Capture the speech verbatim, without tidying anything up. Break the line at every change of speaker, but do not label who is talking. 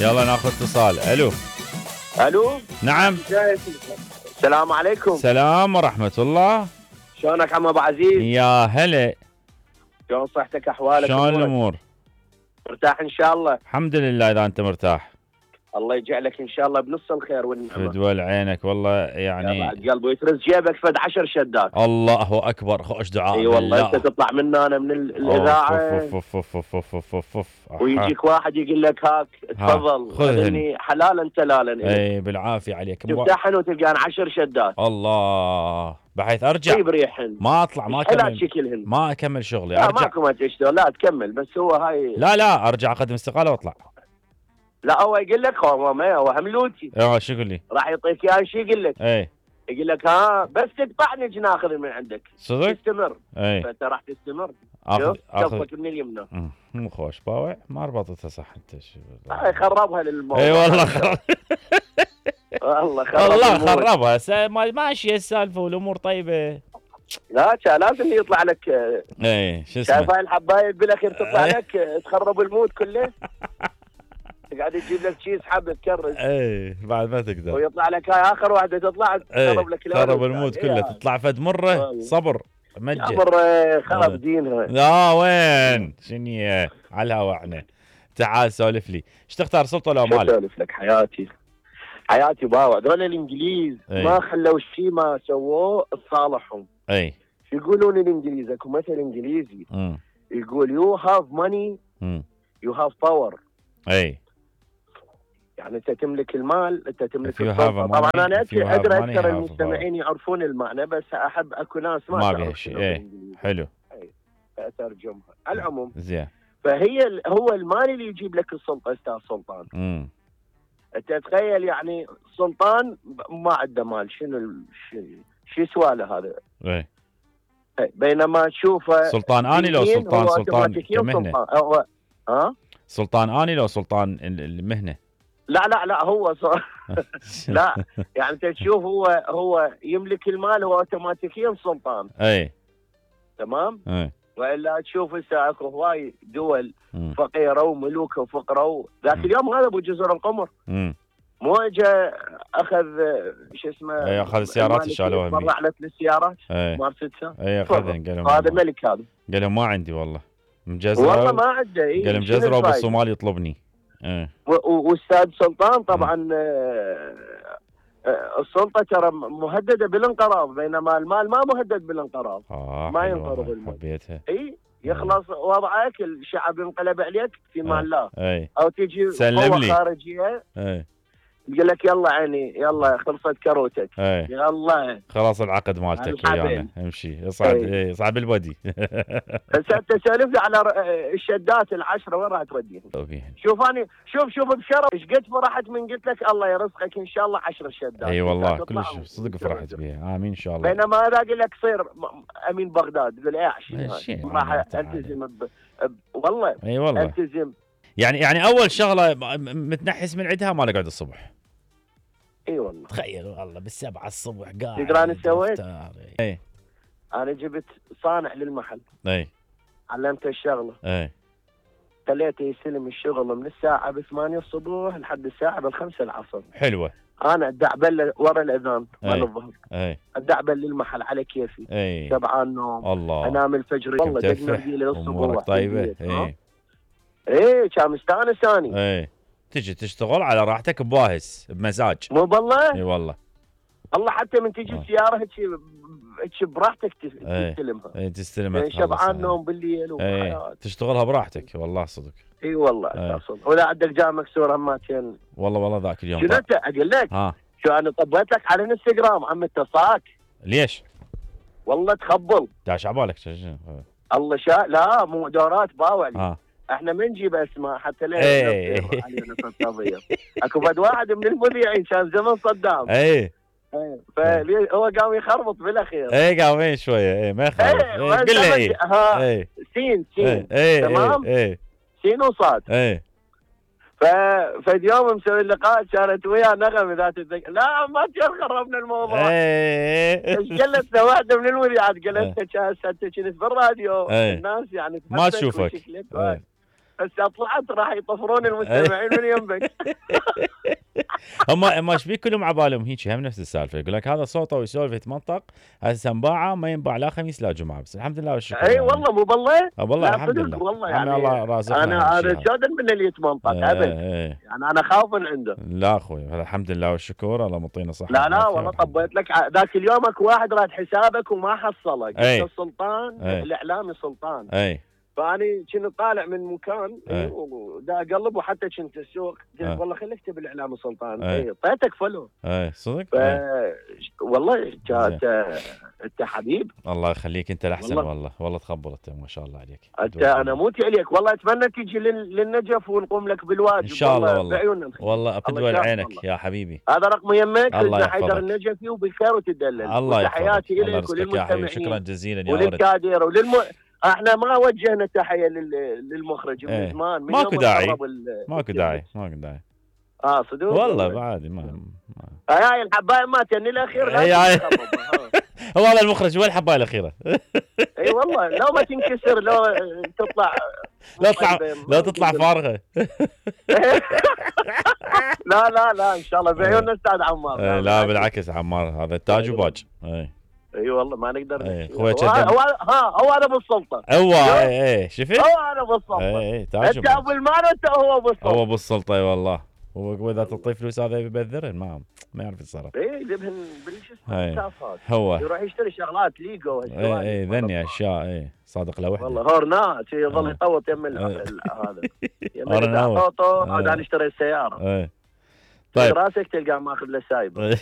يلا ناخذ اتصال. الو
الو
نعم.
السلام عليكم.
سلام ورحمة الله.
شلونك عم ابو عزيز؟
يا هلا.
شلون صحتك احوالك؟
شلون الامور؟
مرتاح ان شاء الله.
الحمد لله اذا انت مرتاح.
الله يجعلك ان شاء الله بنص الخير والنعمه.
فدول عينك والله يعني.
يا بعد قلبي ويترز جيبك فد عشر شدات.
الله اكبر. خوش دعاء.
اي والله انت تطلع منا انا من الاذاعه
أوف أوف أوف أوف أوف أوف أوف أوف.
ويجيك واحد يقول لك هاك تفضل خذني حلالا تلالا.
اي بالعافيه عليك.
تفتحن وتلقان عشر شدات.
الله بحيث ارجع
بريحن
ما اطلع ما اكمل
شكلهن.
ما اكمل شغلي.
لا
ارجع
ماكو ما تشتغل. لا تكمل بس هو هاي.
لا لا ارجع اقدم استقاله واطلع.
لا هو يقول لك هو ما هو هملوتي.
اه شو يقول لي؟
راح يعطيك اياه شو يقول لك؟
اي
يقول لك ها بس تقطعني جي ناخذ من عندك.
صدق؟
تستمر.
اي
فانت راح تستمر.
اخذ
اخذ من اليمنى.
مو خوش باوع ما ربطتها صح انت. شو
هاي خربها للموضوع.
اي والله خرب.
والله خرب
والله خربها. ماشيه السالفه والامور طيبه.
لا لازم يطلع لك.
اي شو اسمه؟
شايف هاي الحبايب بالاخير تطلع لك تخرب المود كله. قاعد يجيب لك شيء يسحب تكرس.
اي بعد ما تقدر.
ويطلع لك هاي اخر واحده تطلع تخرب لك
خرب المود كله. تطلع فد مره صبر مجه.
صبر خرب دينها.
لا وين شنو على الهوا احنا. تعال سولف لي. ايش تختار سلطه ولا مال؟
سولف لك حياتي حياتي باوع. دول الانجليز
أي.
ما خلوا شيء ما سووه لصالحهم.
اي
يقولون الانجليز اكو مثل انجليزي
م.
يقول يو هاف ماني يو هاف باور.
اي
يعني انت تملك المال انت تملك
السلطه.
طبعا انا ادري اكثر المستمعين يعرفون المعنى بس احب اكو ناس ما,
ما بيها شيء. اي حلو.
اي اترجمها على العموم.
زين.
فهي هو المال اللي يجيب لك السلطه استاذ سلطان.
امم
انت تخيل يعني سلطان ما عنده مال شنو شو يسوى له هذا.
اي
بينما تشوفه
سلطان اني لو سلطان سلطان كمهنه.
هو ها
سلطان اني لو سلطان المهنه.
لا لا لا هو صار لا يعني انت تشوف هو هو يملك المال هو اوتوماتيكيا سلطان.
اي
تمام.
اي
والا تشوف هسه اكو هواي دول
م.
فقيره وملوك وفقره. ذاك اليوم هذا ابو جزر القمر
م.
مو اجى اخذ شو اسمه.
اي اخذ السيارات شالوها.
طلعت للسيارات
مارستها. اي اخذهم قال
هذا ملك هذا.
قال لهم ما عندي والله مجزره.
والله ما عنده.
قال لهم مجزره وبالصومال يطلبني. ايه
واستاذ سلطان طبعا آه آه السلطه ترى مهدده بالانقراض بينما المال ما مهدد بالانقراض.
آه
ما ينقرض المال.
حبيتها.
اي يخلص وضعك الشعب ينقلب عليك في مال الله.
اي
او تجي قوه خارجيه.
اي
يقول لك يلا عيني يلا خلصت كروتك.
اي
يلا
خلاص العقد مالتك ويانا امشي اصعد. اي اصعد بالبودي.
بس انت سالف لي على الشدات العشره وين راح توديهم؟ شوف انا شوف شوف بشرف ايش قد فرحت من قلت لك الله يرزقك ان شاء الله عشر شدات.
اي والله كلش صدق فرحت بها. امين ان شاء الله.
بينما هذا اقول لك صير امين بغداد تقول ايه عشان راح التزم ب... والله
اي والله
التزم.
يعني يعني اول شغله متنحس من عندها ما نقعد الصبح.
اي والله
تخيل والله بالسبعة الصبح قاعد.
تدري انا سويت؟
اي
انا جبت صانع للمحل.
اي
علمته الشغله.
اي
خليته يستلم الشغل من الساعه بثمانية الصبح لحد الساعه بالخمسة العصر.
حلوه.
انا ادعبل ورا الاذان مال الظهر.
اي
ادعبل للمحل على كيفي.
اي
شبعان نوم.
الله
انام الفجر والله دقنا لي الصبح.
طيبه. اي
ايه كان مستانس ثاني.
اي تجي تشتغل على راحتك بواهس بمزاج.
مو بالله.
اي والله
الله حتى من تجي السياره هيك هيك براحتك تستلمها.
اي تستلمها
يعني شبعان نوم بالليل وحياه.
تشتغلها براحتك والله صدق.
اي والله صدق. ولا عندك جاء مكسور هماتين.
والله والله ذاك اليوم.
شنو انت اقول لك؟
ها
شو انا طبيت لك على الانستغرام عم اتصاك.
ليش؟
والله تخبل.
داش عبالك.
الله شاء لا مو دورات باوع لي.
ها
احنا ما نجيب اسماء حتى لا
ايه
علينا صداميه. اكو فد واحد من المذيعين كان زمن صدام.
ايه
ايه فهو قام يخربط بالاخير.
ايه قام شويه. ايه ما يخربط.
ايه قل له ايه.
ايه
سين سين.
ايه ايه
تمام.
ايه
سين وصاد.
ايه
ف فد يوم مسوي اللقاء كانت وياه نغم ذات الذكاء. لا ما خربنا الموضوع.
ايه
ايش قالت واحده من المذيعات قالت انت انت كنت بالراديو. الناس يعني
ما تشوفك.
هسه طلعت راح يطفرون المستمعين من يمك.
هم هم ايش بيك كلهم عبالهم هيك هم نفس السالفه، يقول لك هذا صوته ويسولف يتمنطق، هسه انباعه ما ينباع لا خميس لا جمعه، بس الحمد لله والشكر.
اي والله مو بالله؟
اه والله الحمد لله
والله يعني
الله رازقنا.
انا انا جادل من اللي يتمنطق ابد، يعني انا خاف من عنده.
لا اخوي الحمد لله والشكر، الله مطينا صحه.
لا لا والله طبيت لك ذاك اليوم اكو واحد راد حسابك وما حصلك، انت السلطان الاعلامي سلطان.
اي
فاني كنت طالع من مكان ودا اقلب وحتى كنت السوق قلت والله خليك اكتب الاعلام سلطان. اي اعطيتك فلو.
اي صدق.
والله كانت انت حبيب.
الله يخليك انت الاحسن والله والله, والله تخبر انت ما شاء الله عليك.
انت انا موتي عليك والله، اتمنى تيجي للنجف ونقوم لك بالواجب
ان شاء الله والله
بعيوننا.
والله ابتدوى عينك يا حبيبي.
هذا رقم يمك حسن حيدر النجفي وبالخير وتدلل.
الله يحفظك.
تحياتي لك وللمستمعين.
شكرا جزيلا يا ولد.
وللكادر وللم احنا ما وجهنا تحيه للمخرج من
ايه.
زمان.
ماكو داعي ماكو داعي ماكو داعي.
اه صدق
والله بعد ما, ما.
هاي الحبايه ما تني الاخير لا
هاي هو هذا المخرج وين الحبايه الاخيره.
اي والله لو ما تنكسر لو تطلع
لا تطلع لا تطلع فارغه.
لا لا لا ان شاء الله بعيوننا استاذ عمار.
لا, لا بالعكس عمار هذا تاج وباج. اي
اي والله ما نقدر.
اي
هو هو ها هو انا بالسلطه.
هو اي اي شفت؟
هو انا بالسلطه.
اي تاج
انت ابو المال وانت هو بالسلطه.
هو بالسلطه اي والله. واذا تعطيه فلوس هذا يبذرن ما ما يعرف يتصرف.
اي يذبحن بالجسم
هو
يروح يشتري شغلات ليجو.
اي اي ذني اشياء. اي صادق له وحده
والله هورنات يظل يطوط يم هذا يم طوطو. عاد انا اشتريت سياره.
اي طيب
راسك تلقاه ماخذ له سايبه.